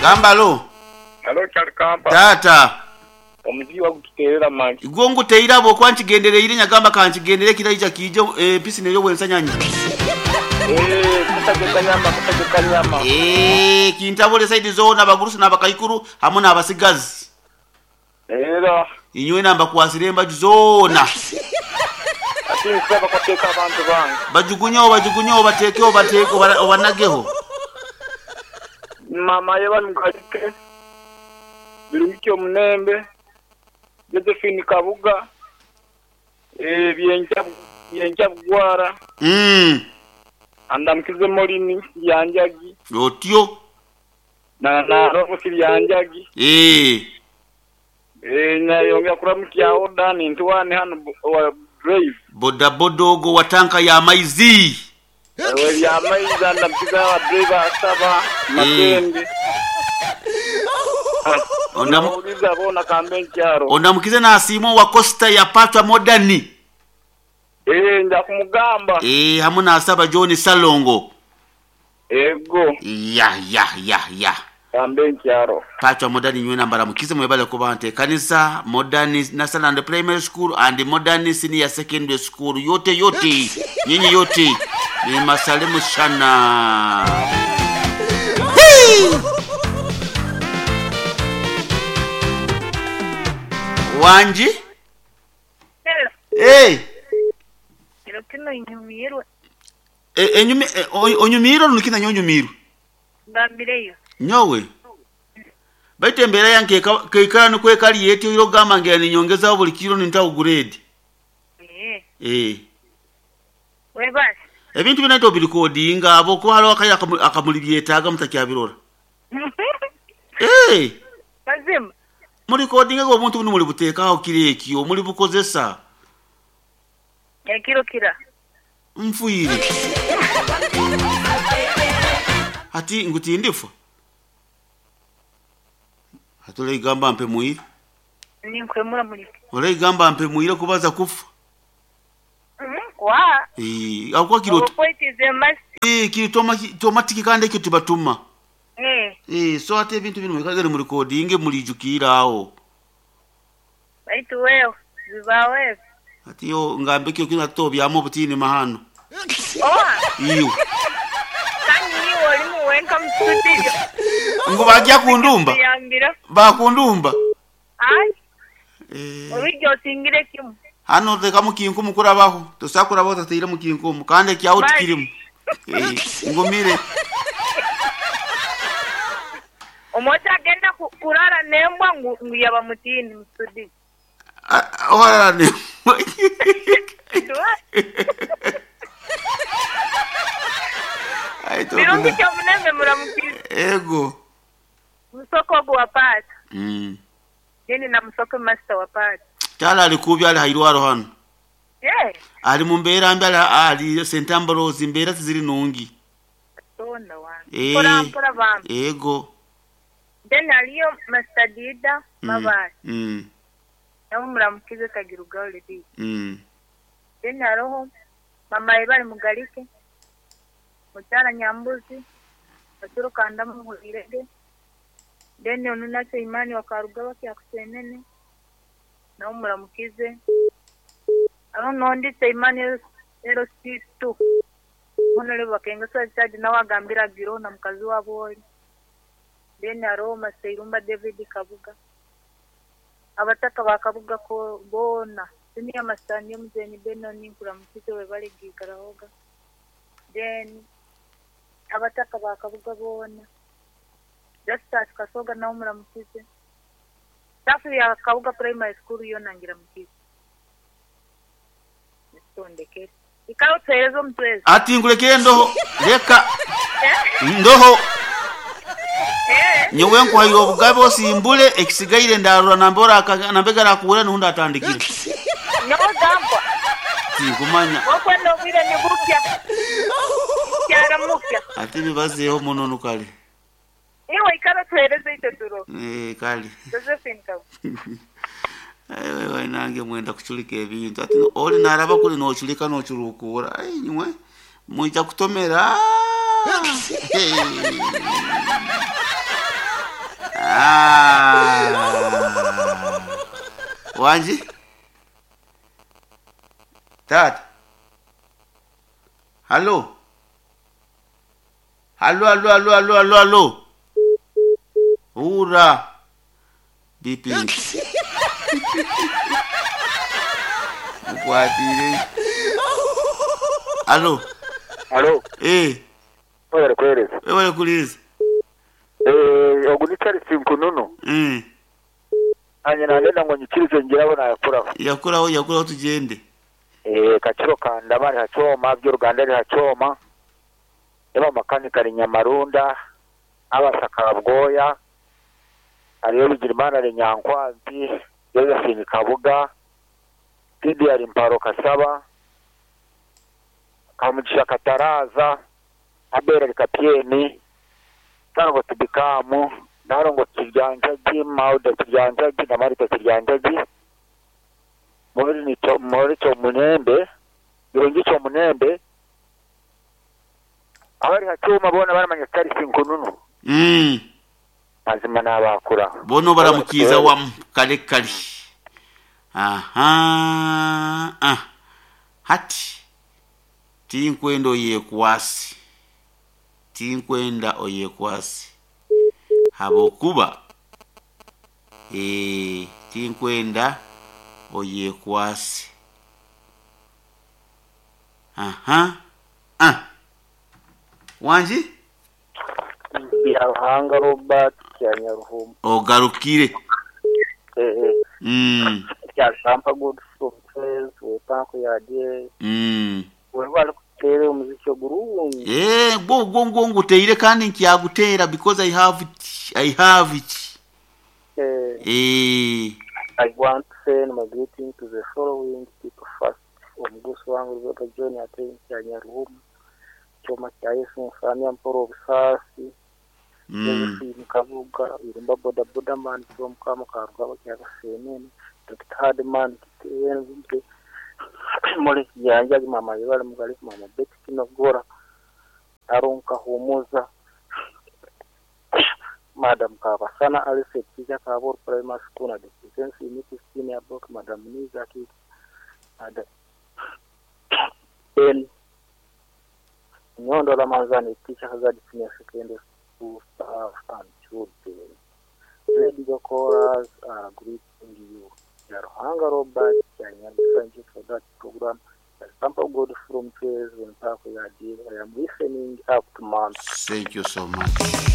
Gamba lo. Halo Kyalikampa. Taata. Omuziki wagututeerera mali. Gwo nguteire habwokuba nkigendereire nyagamba kankigendere ekiraija kiije empisi nerya obwensanyanya. Eeh kusaje kanyama kusaje kanyama. Eeh kintabule saidi zoona abagurusi n'abakaikuru hamu n'abasigazi. Era. Inywena mbakwasire embaju zoona. Ati nsaba kuteeka abantu bange. Bajugunyeho bajugunyeho bateekeho bateeke obanageho. Maama Yebani Mugalike, Birungi Kyomunembe, Josephine Kabuga, Byenkya Byenkya Bugwara, Andamukize Morini Kiryanjagi. Otyo. Na Nalongo Kiryanjagi. Nayongera kuramukya agho Dan Ntwani hano owa Drive. Bodaboda ogwo wa tanka ya maizi. Ow'ebyamaizi andamukiza aba driver asaba Makende. Nabawuliza boona kambe nkyaro. Ondamukize nasiima owa Coaster ya Patra Modern. Nja kumugamba. Hamu nasaba John Ssalongo. Ego. Ya ya ya ya. Kambe nkyaro. Patra Modern nywena mbaramukize mwebale kuba ntekanisa Modern Nasaland Primary School and Modern Senior Secondary School yote yote nyinyi yote ni masalimu sana. Hii! Wanji? Hello. Hey. Kiro kino inyumirwe. Enyumi onyumirwe nukina nyonyumirwe. Ngambireyo. Nyowe. Baitu embeera yange keikara nikwekali yetyo iro gamba ngira ninyongezaho buli kiro nintaho grade. Webasi. Ebintu bina obirikodinga abo kuba hariho akaire akamuli byetaaga mutakyabirora. Mazima. Murikodinga obuntu bunu muri buteekaho kiro ekyo muri bukozesa. Ekiro kira. Nfwire. Hati ngu tindifa. Hati oraigamba mpe mwire. Ninkwemura muri. Oraigamba mpe mwire kubaza kufa. Kwa. Akuwa kiro. Okwetize masi. Kiri tomatiki kandi ekyo tibatuma. So ate ebintu bino mwikagere muri kodinge mulijukira aho. Baitu wewe bibawe. Ati yo ngambe kyo kina to byamo butini mahano. Oa. Iyo. Kandi niwe oli muwenka mu studio. Ngo bajya kundumba. Bakundumba. Ai. Orijyo osingire kimu. Hano reka mukinkumu kurabaho. Tosakurabaho tateire mukinkumu kandi ekyaho tikirimu. Ngumire. Omocha agenda kurara nembwa ngu yaba mutini mu studio. Oharara nembwa. Birungi Kyomunembe muramukize. Ego. Musoko ogwo wa Pata. Jeni na Musoko master wa Pata. Kyala ali kubi ali hairwaro hano. Ali mu mbeera mbi ali St Ambrose mbeera tiziri nungi. Tonda wange. Mpora mpora bambi. Ego. Then aliyo Master Dida Mabali. Nawe muramukize Kagirugaho Lady. Then hariho mama Ebali Mugalike. Mukyala Nyambuzi. Baturukanda muhurire. Then onunatse Imani wakaruga bakyakusenene. Nawe muramukize. Aho nonditse Imani ero 62. Honorable Bakenga Chad nawe agambira giro na mukazi wabo oli. Then hariho Maseirumba David Kabuga. Abataka ba Kabuga ko bona. Siniya Masani Muzeni Benoni nkuramukize we bali gikarahoga. Then abataka ba Kabuga bona. Justus Kasoga nawe muramukize. Staff ya Kabuga Primary School yo nangira mukize. Nitondekere. Ikawo twerezo mtwezi. Ati ngulekere ndoho. Leka. Ndoho. Nyowe nkuhaire obugabe osimbule ekisigaire ndarura nambora nambega rakuura nuhunda atandikire. Nyowe gamba. Tinkumanya. Wokwe nobwire ni bukya. Kyara mukya. Ati bibazeho muno nukale. Iwe ikara tuhereze ite turo. Kale. Josephine Kabu. Wewe nange mwenda kuchulika ebintu. Ati oli naraba kuli nochulika nochurukura. Ai nywe mwija kutomera. Ah. Wangi? Taata. Hallo. Hallo, hallo, hallo, hallo, hallo, hallo. Hura. Bipi. Mukwatire. Hallo. Alo, Eh, webale kuhereza. wewe kuliza. Ogu ni Charles Nkununu. Nanye nagenda ngo nyikirize ngirabo nayakuraho. Yakuraho, yakuraho tugende. Kakiro kandaba ari hacoma, by'uruganda ari hacoma. Eba makanika ari Nyamarunda, abasaka bwoya. Ariyo Bigirimana ari Nyankwanzi, Josephine Kabuga, Didi ari Mparo Kasaba, Kamugisha Kataraza, Abel ari Kapyeni, Sarongo Tubikamu, Narongo Kiryanjagi, Mauda Kiryanjagi na Marita Kiryanjagi, Muri ni Muri Cyomunembe, Birungi Cyomunembe, abari hacuma bona baramanya Charles Nkununu. Mazima n'abakura. Bono baramukiza wa kale kale. Aha. Ah. Hati. Tinkwenda oyekwasi. Tinkwenda oyekwasi. Habokuba. Tinkwenda oyekwasi. Aha. Ah. Wanji? Byaruhanga Robert Kyanyaruhuma. Ogarukire. Kyasampa good from Fez, wepanko yadie. Webale kuteera omuziki ogurungi. Gwo gwo gwo nguteire kandi nkyaguteera because I have it. I have it. I want to send my greeting to the following people first. Omugusi wangu Robert John ate Kyanyaruhuma. Kyoma kya Yesu Mfamya Mporo Obusasi. Josephine Kabuga, Irumba Boda Boda Man from Kama Karugaba Kyakasenene, Dr. Hardman Kitenze, Mole Yanjagi Mama Yibale Mugali Mama Betty Kinogora, Aaron Kahumuza, Madam Kabasana Alice Teacher Kabor Primary School na Defense Unit Senior Block, Madam Niza Kiki, Madam Ben Nyondo Ramazani Teacher Hazard Senior Secondary School staff and children. Radio callers are greeting you. Yaruhanga Robert, thank you for that program. Sample God from Chase when Park I am listening up to month. Thank you so much.